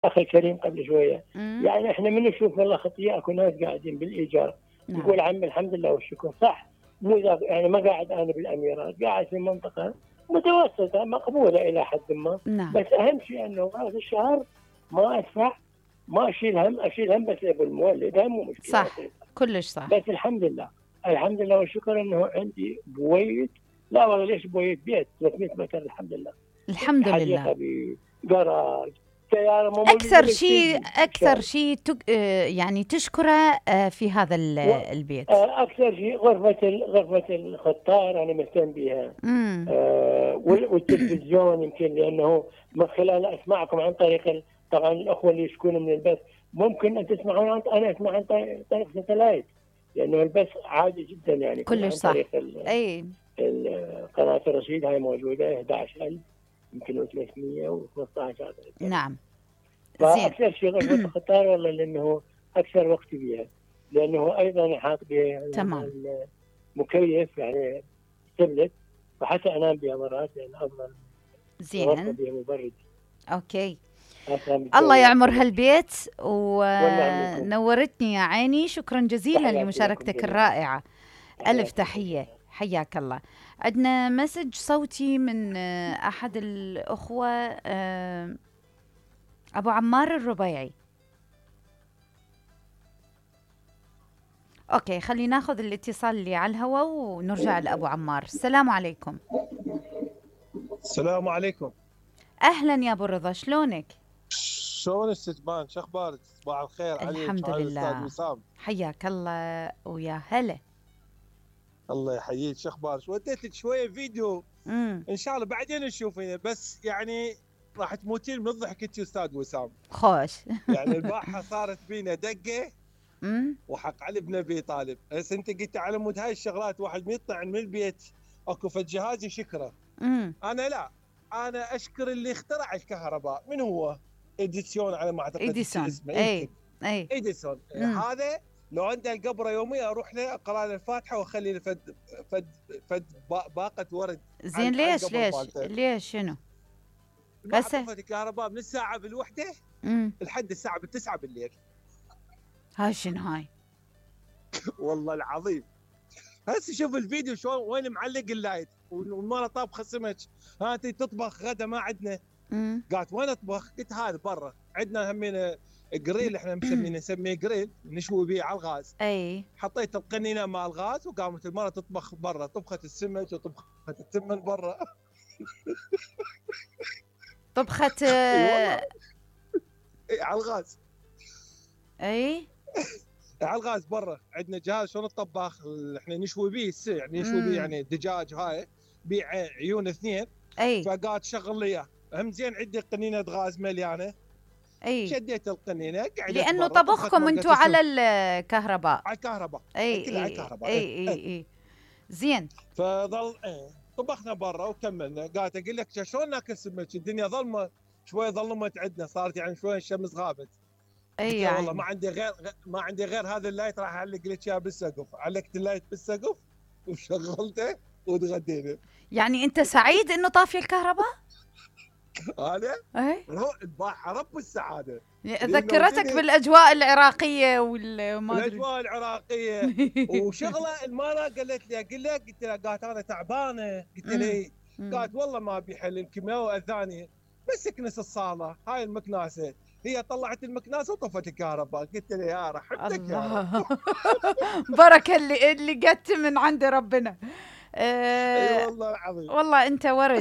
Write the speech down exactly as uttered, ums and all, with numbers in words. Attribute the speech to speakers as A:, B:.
A: اخي الكريم قبل شويه،
B: مم.
A: يعني احنا من نشوف والله خطيه اكو ناس قاعدين بالايجار،
B: نعم.
A: يقول عمي الحمد لله والشكر، صح، مو ذاك يعني ما قاعد انا بالاميرات، قاعد في منطقه متوسطه مقبوله الى حد ما،
B: نعم.
A: بس اهم شيء انه راس الشهر ما ادفع، ما اشيل هم، اشيل هم بس ابو المولد، هم مو مشكله
B: صح،
A: بسيطة.
B: كلش صح.
A: بس الحمد لله، الحمد لله والشكر انه عندي بويت، لا والله ليش بويت، بيت ثلاثمئة متر الحمد لله،
B: الحمد لله.
A: حديقه بجراج، سياره مو
B: أكثر
A: موجوده
B: شيء أكثر شيء تك... آه، يعني تشكره آه، في هذا ال-
A: و...
B: البيت.
A: آه، اكثر شيء غرفه ال... غرفه الخطار انا مهتم بها،
B: امم
A: آه وال... والتلفزيون يمكن لانه من خلال اسمعكم عن طريق ال... طبعا الاخوه اللي يشكون من البث ممكن ان تسمعون عن... انا اسمع عن طريق, طريق ستلايت، لانه البث عادي جدا يعني
B: كلش
A: عن
B: صح.
A: طريق ال...
B: أي
A: ال... قناه الرشيد هاي موجوده أحد عشر ألف يمكن ثلاثمئة وخمسة عشر.
B: نعم. زين.
A: فاكثر شيء غرفه الخطار والله لانه اكثر وقت بها، لانه ايضا يحاط به
B: تمام.
A: مكيف يعني تبلت، فحتى انام بها مرات لان افضل غرفه
B: زين.
A: بها مبرد.
B: أوكي.
A: أفهم
B: الله
A: الجو.
B: يعمر هالبيت
A: والله منكم.
B: ونورتني يا عيني. شكرا جزيلا
A: تحياتي لكم
B: لمشاركتك
A: جميعا.
B: الرائعة. ألف
A: تحياتي
B: تحية. حياك الله. عندنا مسج صوتي من آه، أحد الأخوة، آه، أبو عمار الربيعي. أوكي، خلي ناخذ الاتصال اللي على الهواء ونرجع لأبو عمار. السلام عليكم.
C: السلام عليكم.
B: أهلا يا أبو رضا، شلونك؟
C: شلون الستبان؟ شو اخبارك؟ صباح الخير عليك.
B: الحمد
C: وعلى
B: لله.
C: الأستاذ وسام.
B: حياك الله ويا هلا.
C: الله يحييك. شو اخبارك؟ وديت لك شويه فيديو
B: امم
C: ان شاء الله بعدين نشوفينه، بس يعني راح تموتين من الضحك انت استاذ وسام.
B: خوش.
C: يعني البارحه صارت بينا دقه
B: امم
C: وحق علي بن ابي طالب. هسه انت قلت على مود هاي الشغلات واحد ما يطلع من البيت اكو فد جهاز يشكره.
B: امم
C: انا لا، انا اشكر اللي اخترع الكهرباء. من هو؟ اديسون على ما اعتقد
B: إديسون.
C: اسمه.
B: اي
C: يمكن
B: اي
C: اديسون.
B: مم.
C: هذا لو عنده القبره يوميه اروح له اقرا له الفاتحه واخلي له فد فد فد با- باقه ورد.
B: زين، ليش ليش ليش شنو؟ هسه
C: هسه الكهرباء من الساعه بالوحده
B: امم
C: لحد الساعه بالتسعة بالليل.
B: هاي شنو هاي؟
C: والله العظيم. هسه شوف الفيديو شلون وين معلق اللايت والمره طابخه سمك. ها انت تطبخ غدا ما عندنا.
B: امم
C: قالت وين اطبخ؟ قلت هذا برا عندنا همينه جريل، احنا مسمينه نسميه جريل نشوي به على الغاز.
B: اي
C: حطيت القنينه مع الغاز وقامت المره تطبخ برا، طبخت السمك وطبخت التمن برا.
B: طبخت.
C: اي والله. اي على الغاز.
B: اي
C: على الغاز برا عندنا جهاز شلون الطباخ احنا نشوي به السي، يعني نشوي به يعني دجاج هاي بيه عيون اثنين.
B: اي
C: فقالت شغل لي اياه. هم زين عندي قنينه غاز مليانه.
B: اي
C: شديت القنينه قعدت
B: لانه
C: برا،
B: طبخكم
C: طبخت
B: انتم
C: مرقة
B: على الكهرباء.
C: على الكهرباء.
B: اي
C: كلها على
B: اي
C: الكهرباء.
B: اي اي اي زين.
C: فظل ايه طبخنا برا وكملنا. قالت اقول لك شلون ناكل سمك؟ الدنيا ظلمه شوي، ظلمت عندنا صارت يعني شوي الشمس غابت.
B: اي
C: يعني والله
B: يعني
C: ما عندي غير ما عندي غير هذا اللايت، راح اعلق لك اياه بالسقف. علقت اللايت بالسقف وشغلته وتغدينا.
B: يعني انت سعيد انه طافي الكهرباء؟
C: انا
B: اي
C: هو البارحه رب السعاده.
B: ذكرتك بالاجواء العراقيه والما ادري
C: الاجواء العراقيه وشغله. المره قالت لي اقول لك، قلت لها قالت انا تعبانه. قلت لها قالت والله ما ابي حل الكيماوي اذاني بس اكنس الصاله هاي المكناسه. هي طلعت المكناسه وطفت الكهرباء. قلت لها يا رحمتك يا رب.
B: بركه اللي اللي جت من عند ربنا.
C: اي والله العظيم.
B: والله انت ورد.